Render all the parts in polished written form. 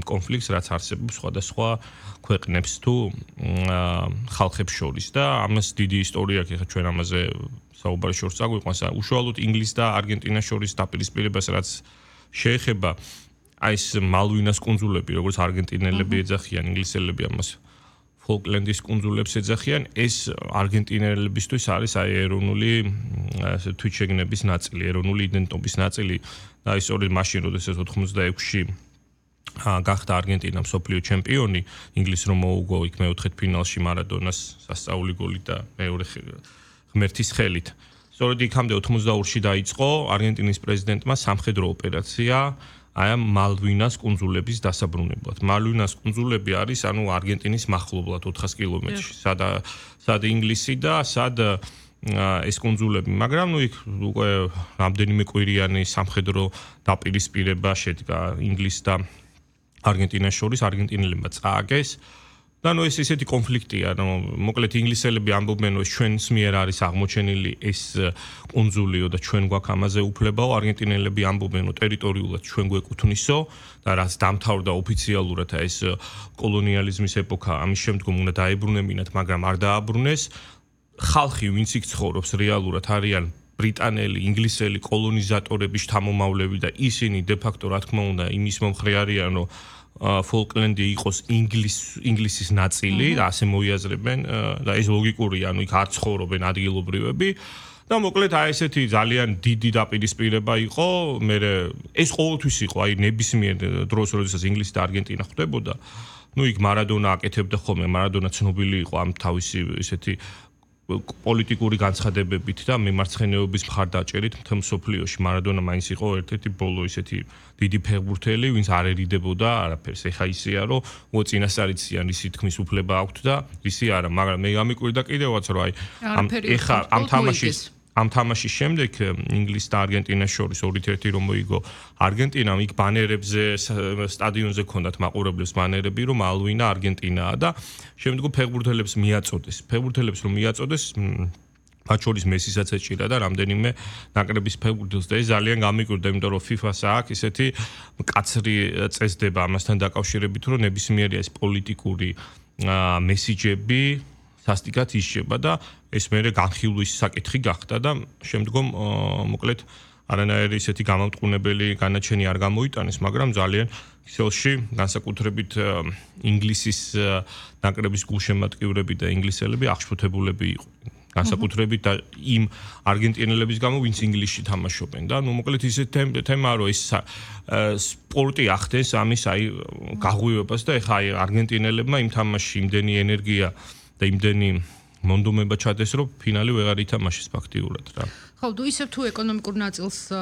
კონფლიქტს, რაც არსებობს სხვადასხვა ქვეყნებს თუ ხალხებს შორის და ამას დიდი ისტორია აქვს, ახლა ჩვენ ამაზე საუბარი შორს წაგვიყვანს, უშუალოდ ინგლისს და არგენტინას შორის დაპირისპირებას რაც შეეხება აი ეს მალვინას კუნძულები, როგორც არგენტინელები ეძახიან, ინგლისელები ამას ფოლკლენდის კუნძულებს ეძახიან, ეს არგენტინელებისთვის არის აი ეროვნული ასე თვითშეგნების ნაწილი, ეროვნული იდენტობის ნაწილი და აი სწორედ მაშინ, როდესაც 86-ში გახდა არგენტინა მსოფლიო ჩემპიონი, ინგლისს რომ მოუგო იქ მეოთხედ ფინალში მარადონას სასწაული გოლით და მეორე ღმერთის ხელით. სწორედ იქამდე 82-ში დაიწყო არგენტინის პრეზიდენტმა სამხედრო ოპერაცია აი ამ მალვინას კუნძულების დასაბრუნებლად. მალვინას კუნძულები არის ანუ არგენტინის მახლობლად 400 კილომეტრში. სად ინგლისი და სად ეს კუნძულები, მაგრამ იქ უკვე რამდენიმე კვირიანი სამხედრო დაპირისპირება შედგა ინგლისს და არგენტინას შორის, არგენტინელებმა წააგეს. და ეს ისეთი კონფლიქტია, მოკლედ ინგლისელები ამბობენ, რომ ჩვენს მიერ არის აღმოჩენილი ეს კუნძულიო და ჩვენ გვაქვს ამაზე უფლებაო, არგენტინელები ამბობენ, რომ ტერიტორიულად ჩვენ გვეკუთვნისო და რაც დამთავრდა ოფიციალურად ეს კოლონიალიზმის ეპოქა, ამის შემდგომ უნდა დაებრუნებინათ, მაგრამ არ დააბრუნეს. ხალხი, ვინც იქ ცხოვრობს, რეალურად არიან ბრიტანელი, ინგლისელი კოლონიზატორების შთამომავლები და ისინი დე-ფაქტო, რა თქმა უნდა, იმის მომხრე არიან, რომ ფოლკლენდი იყოს ინგლისის ნაწილი და ასე მოიაზრებენ და ეს ლოგიკურია, ანუ იქ არ ცხოვრობენ ადგილობრივები და მოკლედ აი ესეთი ძალიან დიდი დაპირისპირება იყო, ეს ყოველთვის იყო, აი ნებისმიერ დროს, როდესაც ინგლისი და არგენტინა ხვდებოდა, იქ მარადონა აკეთებდა ხოლმე, მარადონა ცნობილი იყო ამ თავისი ესეთი პოლიტიკური განცხადებებით და მემარცხენეობის მხარდაჭერით მთელ მსოფლიოში. მარადონა მაინც იყო ერთ-ერთი ბოლო ისეთი დიდი ფეხბურთელი, ვინც არ ერიდებოდა არაფერს. ეხა ისეა, რომ წინასწარიციან ისი თქმის უფლება აქვთ და ისი არა, მაგრამ მე გამიკვირდა კიდევაც, რომ აი ეხა ამ თამაშის შემდეგ ინგლისს და არგენტინას შორის 2-1 რომ მოიგო არგენტინამ, იქ ბანერებზე სტადიონზე ქონდათ მაყურებლებს ბანერები, რომ მალვინა არგენტინაა და შემდგომ ფეხბურთელებს მიაწოდეს. ფეხბურთელებს რომ მიაწოდეს, მათ შორის მესისაც ეჭირა და რამდენიმე ნაკრების ფეხბურთელს და ეს ძალიან გამიკვირდა, იმიტომ რომ FIFA-ს აქვს ისეთი მკაცრი წესდება ამასთან დაკავშირებით, რომ ნებისმიერი ეს პოლიტიკური მესიჯები სასტიკად ისჯება და ეს მერე განხილვის საკითხი გახდა და შემდგომ მოკლედ არანაირი ისეთი გამამტყუნებელი განაჩენი არ გამოიტანეს, მაგრამ ძალიან ქსელში განსაკუთრებით ინგლისის ნაკრების გულშემატკივრები და ინგლისელები აღშფოთებულები იყო. განსაკუთრებით და იმ არგენტინელების გამო, ვინც ინგლისში თამაშობენ და მოკლედ ისეთი თემაა, რომ ეს სპორტი ახდენს ამის აი გაღვივებას და ეხა აი არგენტინელებმა იმ თამაშში იმდენი ენერგია და იმდენი მონდომება ჩადეს, რომ ფინალი ვეღარ ითამაშეს ფაქტიურად რა. ხო, ისევ თუ ეკონომიკურ ნაწილს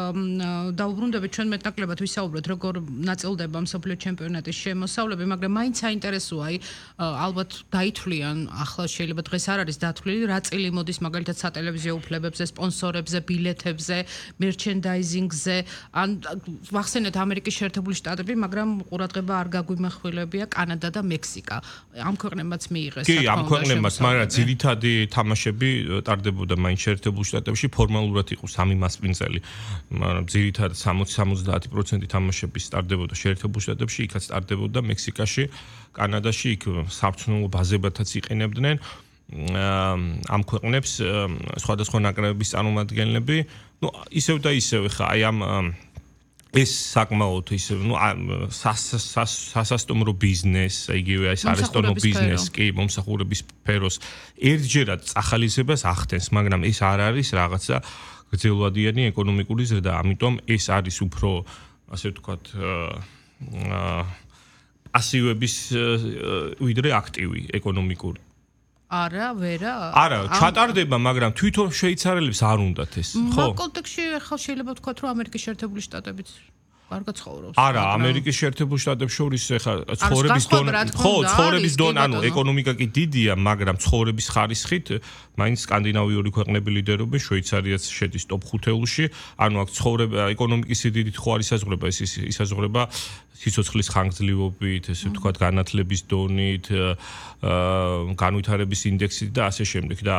დაუბრუნდებით, ჩვენ მეტნაკლებად ვისაუბროთ, როგორ ნაწილდება მსოფლიო ჩემპიონატის შემოსავლები, მაგრამ მაინც საინტერესოა, აი ალბათ დაითვლიან, ახლა შეიძლება დღეს არ არის დათვლილი, რა წილი მოდის მაგალითად სატელევიზიო უფლებებზე, სპონსორებზე, ბილეთებზე, მერჩენდაიზინგზე, ან ვახსენეთ ამერიკის შეერთებული შტატები, მაგრამ ყურადღება არ გაგვიმახვილებია კანადა და მექსიკა. ამ ქვეყნებმაც მიიღეს. კი, ამ ქვეყნებმაც, მაგრამ ძირითადი თამაშები ტარდებოდა მაინც შეერთებულ შტატებში, ფორმალურად იყო 3 მასპინძელი, მაგრამ ძირითადად 60-70% თამაშები სტარდებოდა შეერთებულ შტატებში, იქაც სტარდებოდა მექსიკაში, კანადაში, იქ საბრძოლო ბაზებათაც იყენებდნენ. ამ ქვეყნებს სხვადასხვა ნაკრებების წარმომადგენლები, ისევ და ისევ ხა აი ამ ეს საკმაოდ ისე სასასტუმრო ბიზნეს, იგივე ეს არესტორნო ბიზნესი, კი, მომსახურების სფეროს ერთჯერად წახალისებას ახდენს, მაგრამ ეს არ არის რაღაცა გრძელვადიანი ეკონომიკური ზრდა, ამიტომ ეს არის უფრო ასე ვთქვათ პასივების ვიდრე აქტივი ეკონომიკური. არა, ვერა. არა, ჩატარდება, მაგრამ თვითონ შვეიცარიელებს არ უნდათ ეს, ხო? ამ კონტექსტში ახლა შეიძლება ვთქვათ, რომ ამერიკის შეერთებული შტატებიც კარგად ცხოვრობს. არა, ამერიკის შეერთებულ შტატებს შორის ახლა ცხოვრების დონე, ხო, ცხოვრების დონე, ანუ ეკონომიკა კი დიდია, მაგრამ ცხოვრების ხარისხით მაინც სკანდინავიური ქვეყნები ლიდერობენ, შვეიცარიაც შედის ტოპ 5-ში, ანუ აქ ცხოვრება ეკონომიკის სიდიდით ხო არ ისაზღვრება, ეს ისაზღვრება სიცოცხლის ხანგრძლივობით, ესე ვთქვათ, განათლების დონით, განვითარების ინდექსით და ასე შემდეგ და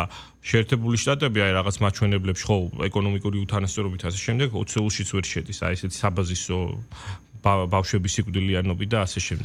შეერთებული შტატები აი რაღაც მაჩვენებლებში ხო ეკონომიკური უთანასწორობით ასე შემდეგ 20-ულშიც ვერ შედის, აი ესეთი საბაზისო ბავშვების სიკვდილიანობით და ასე შემდეგ.